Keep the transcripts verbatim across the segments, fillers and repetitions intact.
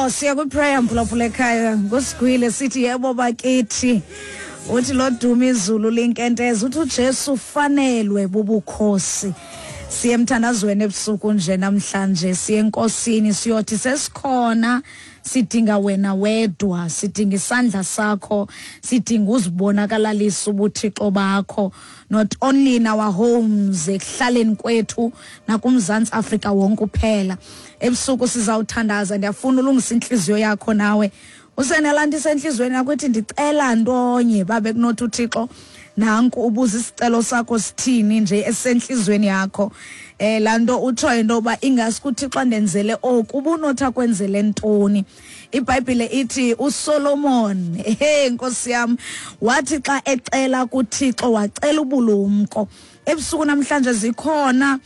Oh, siya kwi-prayer mphulaphula ekhaya ngusigwile sithi yebo bakithi. Uthi loduma izulu linkenteza, uthi uJesu ufanelwe bubukhosi. Siye emthandazweni ebusuku nje namhlanje, siye enkosini siyothi sesikhona, sidinga wena wedwa, sidinga isandla sakho, sidinga uzibonakalalisa ubuthixo bakho, not only in our homes, ekuhlaleni kwethu nakuMzantsi Afrika wonke uphela. Ebusuku sizawuthandaza, ndiyafuna ulungisa intliziyo yakho nawe. Usenelaa nto isentliziyweni yakho ithi ndicela ntonye, babe kunothi uThixo nanku ubuza isicelo sakho sithini nje esentliziyweni yakho. Eh laa nto utshoyo into yoba ingasuke uThixo andenzele oku, ubunothi akwenzele ntoni? IBhayibhile ithi uSolomon, he Nkosi yam, wathi xa ecela kuThixo wacela ubulumko. Ebusuku namhlanje zikhona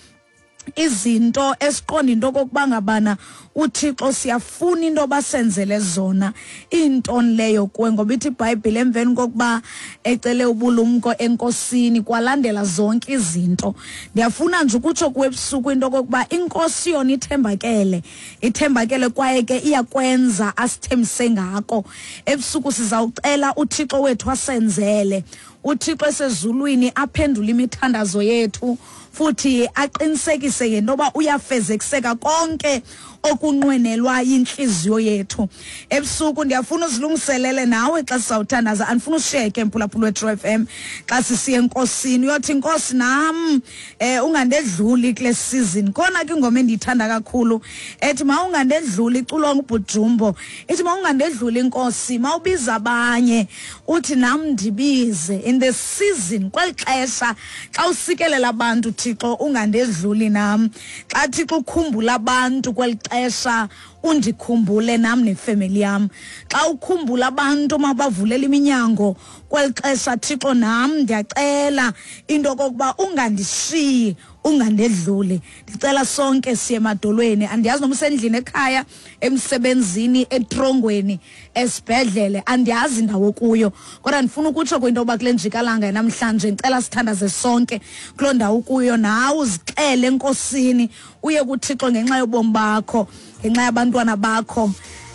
izinto esiqonda into okokuba ngabana uThixo siyafuna into basenzele zona, intoni leyo kuwe? Ngoba ithi iBhayibhile emveni kokuba ecele ubulumko enkosini kwalandela zonke izinto. Ndiyafuna nje ukutsho kuwe ebusuku into okokuba inkosi yona ithembakele, ithembakele kwaye ke iyakwenza asithembise ngako. Ebusuku sizawucela uThixo wethu asenzele, uThixo esezulwini aphendule imithandazo yethu, futhi aqinisekise ngento yoba uyafezekiseka konke okunqwenelwa yintliziyo yethu. Ebusuku ndiyafuna uzilungiselele nawe xa sizawuthandaza, andifuna ushiyeke mphulaphula weTru F M xa sisiya enkosini, uyothi Nkosi nam eh ungandedluli kule season. Khona ke ingoma endiyithanda kakhulu ethi mawungandedluli, iculwa nguBhujumbo, ithi mawungandedluli Nkosi, mawubiza abanye uthi nam ndibize in the season, kweli xesha xa usikelela abantu Thixo ungandedluli nam, xa Thixo ukhumbula abantu kweli xesha undikhumbule nam nefemeli yam, xa ukhumbula abantu mabavulela iminyango kweli xesha Thixo nam ndiyacela into okokuba ungandishiyi, ungandedluli. Ndicela sonke siye emadolweni, andiyazi noma usendlini ekhaya, emsebenzini, etrongweni, esibhedlele, andiyazi indawo kuyo, kodwa ndifuna ukutsho kwinto yoba kule njikalanga namhlanje ndicela sithandaze sonke kuloo ndawo kuyo, nawe uzixele enkosini, uye kuThixo ngenxa yobomi bakho, ngenxa yabantwana bakho,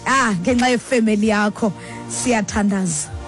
ah ngenxa yefemeli yakho. Siyathandaza.